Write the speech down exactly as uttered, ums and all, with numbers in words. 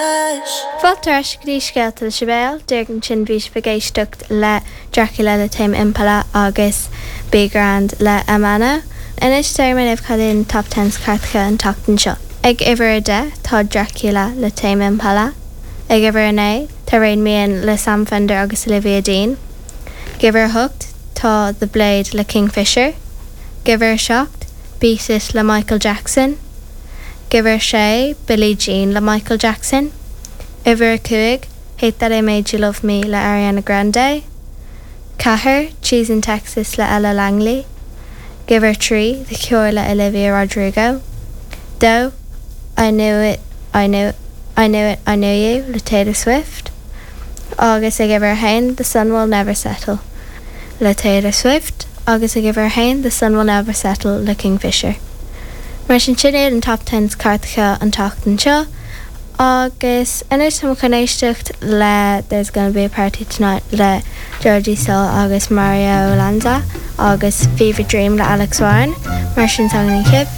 Fáilte ar ais go dtí Scéalta le Sibéal, díreach ansin bhí sibh ag éisteacht le Dracula le Tame Impala agus Be Grand le Amano. Anois déarfaidh mé libh cad iad na top tens cairteacha an tseachtain seo. Ag uimhir a deich tá Dracula le Tame Impala. Ag uimhir a naoi tá Rain Man le Sam Fender agus Olivia Dean. Ag uimhir a hocht tá The Blade le Kingfisher. Ag uimhir a seacht Beat It le Michael Jackson. Ag uimhir a sé Billie Jean le Michael Jackson. Uimhir a cúig Hate That I Made You Love Me le Ariana Grande. Ceathair Cheese in Texas le Ella Langley. Ag uimhir a trí The Cure le Olivia Rodrigo. Dó I Knew It I Knew I Knew It I Knew You le Taylor Swift. Agus ag uimhir a haon The Sun Will Never Settle le Taylor Swift agus ag uimhir a haon The Sun Will Never Settle le Kingfisher. Mar sin sin iad an top tens cairteacha an tseachtain seo, agus anois tá chun éisteacht le There's Gonna Be a Party Tonight le Georgie Soul agus Mario Lanza agus Fever Dream le Alex Warren, mar sin san chip.